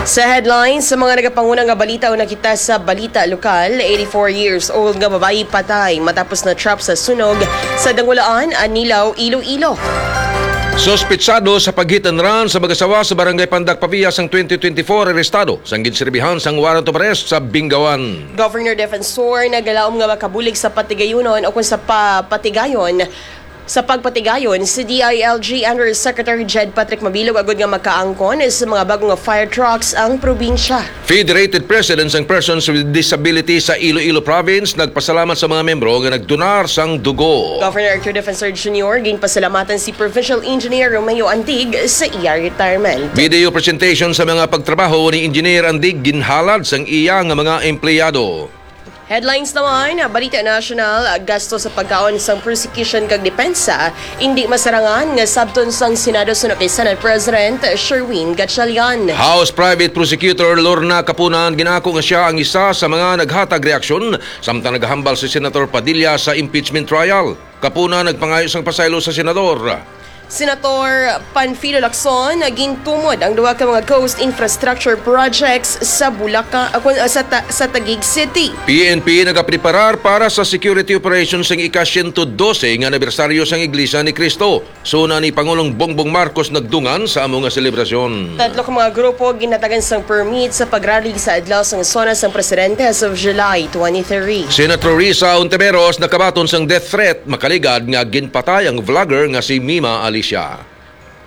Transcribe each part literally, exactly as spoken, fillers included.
Sa headlines, sa mga nagapanguna nga balita o nakita sa balita lokal, eighty-four years old nga babayi patay matapos na trap sa sunog sa Dangulaan, Anilao, Iloilo. Suspitsado sa pag-hit and run sa mag-asawa sa Barangay Pandak Pavia sang twenty twenty-four arestado sang ginserbihan sang warrant of arrest sa Bingawan. Governor Defensor nagalaom nga makabulig sa patigayunon o kung sa pa-, patigayon sa pagpatigayon si D I L G Undersecretary Jed Patrick Mabilog agud nga makaangkon sa mga bago nga fire trucks ang probinsya. Federated President sang Persons with Disability sa Iloilo Province nagpasalamat sa mga membro nga nagdonar sang dugo. Governor Arthur Defensor Junior ginpasalamatan si Provincial Engineer Romeo Antig sa iya retirement. Video presentation sa mga pagtrabaho ni Engineer Andig ginhalad sang iya nga mga empleyado. Headlines naman, balita nasyonal, gasto sa pagkaon sang prosecution kag depensa, indi masarangan nga sabton sang Senado suno kay Senate President Sherwin Gatchalian. House Private Prosecutor Lorna Kapunan ginako nga sia ang isa sa mga naghatag reaksyon samtang nagahambal si Senator Padilla sa impeachment trial. Kapunan nagpangayo sang pasaylo sa senador. Senator Panfilo Lacson, gintumod ang duha ka mga coast infrastructure projects sa Bulacan, ah, kun-, ah, sa Ta-, sa Taguig City. P N P nagapreparar para sa security operation sang ika-siyento dose nga anibersaryo sang Iglesia ni Cristo. Suna ni Pangulong Bongbong Marcos nagdungan sa amo nga selebrasyon. Tatlo ka mga grupo ginhatagan sang permit sa pagrally sa adlaw sang SONA sang presidente as of July twenty-three. Senator Risa Hontiveros nakabaton sang death threat makaligad nga ginpatay ang vlogger nga si Mima Alicia.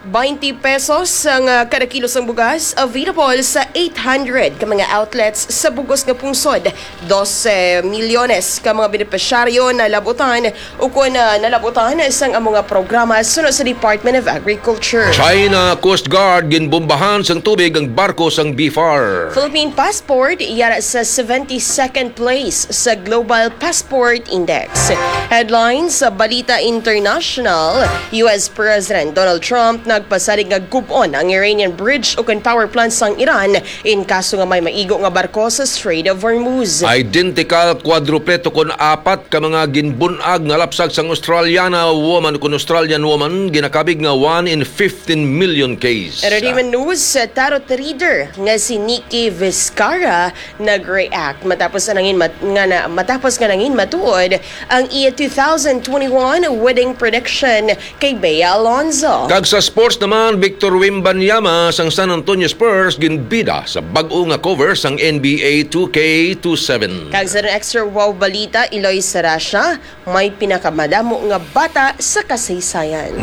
Twenty pesos ang, ah, kada kilo sang bugas, available sa eight hundred ka mga outlets sa bugos nga pungsod. Dose milyones ka mga benepisyaryo nalabutan ukon, ah, nalabutan sang amo nga programa suno sa Department of Agriculture. China Coast Guard ginbombahan sang tubig ang barko sang BFAR. Philippine passport yara sa seventy-second place sa Global Passport Index. Headlines sa Balita International, U S President Donald Trump nagpasalig nga gub-on ang Iranian bridge ukon power plant sang Iran in kaso nga may maigo nga barko sa Strait of Hormuz. Identical quadrupleto kon apat ka mga ginbun-ag nga lapsag sang Australiana woman kon Australian woman ginakabig nga one in fifteen million case. Entertainment news, tarot reader nga si Nikki Vizcarra nag-react matapos nga nangin mat-, nga na, matapos nga nangin matuod ang iya two thousand twenty-one wedding prediction kay Bea Alonzo. Kag sa sports naman, Victor Wembanyama sang San Antonio Spurs ginbida sa bag-o nga cover sang N B A two K twenty-seven. Kag sa extra wow balita, iloy sa Russia, may pinakamadamo nga bata sa kasaysayan.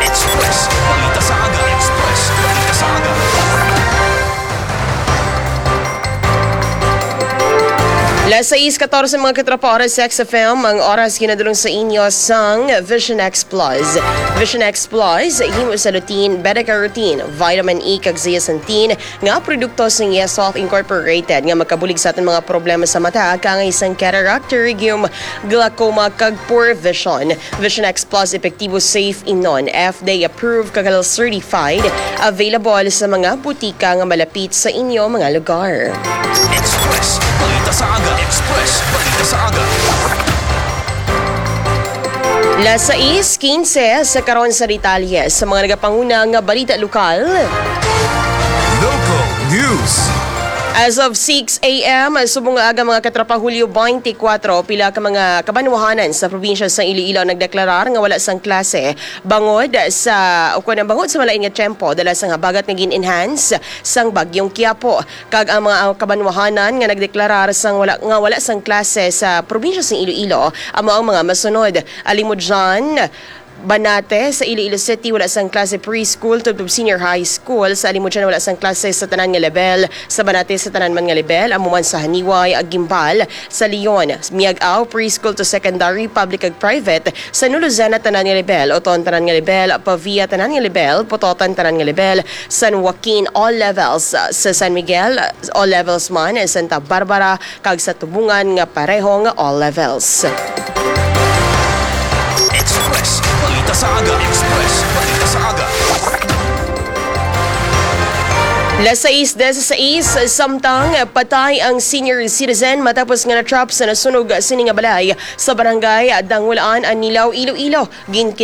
Express Balita sa Aga. Express Balita sa Aga. Las sais katorse, mga katropa, oras sa X F M. Ang oras ginadulong sa inyo sang Vision X Plus. Vision X Plus, himo sa lutein, beta-carotene, vitamin E, kag zeaxanthin, nga produkto sang Yes Health Incorporated nga makabulig sa aton mga problema sa mata, kaangay sang cataract, pterygium, glaucoma, kag poor vision. Vision X Plus, epektibo, safe, imnon, F D A approved, kag halal certified. Available sa mga butika nga malapit sa inyo mga lugar. Express Balita sa Aga. Express Balita sa Aga. Las sais quince sa karon sa detalye sa mga nagapanguna nga balita lokal. Local News. As of six a m, subong nga aga, mga katropa, Hulyo twenty-four, pila ka mga kabanwahanan sa probinsya sa Iloilo ang nagdeklarar nga wala sang klase bangod sa, o kuwan, bangod sa malain nga tiyempo dala sang habagat nga gin-enhance sang Bagyong Quiapo. Kag ang mga kabanwahanan nga nagdeklarar sang wala, nga wala sang klase sa probinsya sang Iloilo amo ang mga masunod: Alimodian, Banate sa Iloilo City, wala sang klase preschool tubtob senior high school. Sa Alimodian, wala sang klase sa tanan nga level. Sa Banate, sa tanan man nga level, amo man sa Janiuay, Guimbal, sa Leon, Miag-ao, preschool to secondary, public kag private. Sa Nuluzena, tanan nga level. Oton, tanan nga level. Pavia, tanan nga level. Pototan, tanan nga level. San Joaquin, all levels. Sa San Miguel, all levels man. Santa Barbara, kag sa Tubungan nga pareho nga all levels. Express Balita sa Aga. Express Balita sa Aga. Las sais dieciséis, samtang patay ang senior citizen matapos nga na-trap sa nasunog sini nga balay sa barangay Dangulaan, Anilao, Iloilo. Ginkilala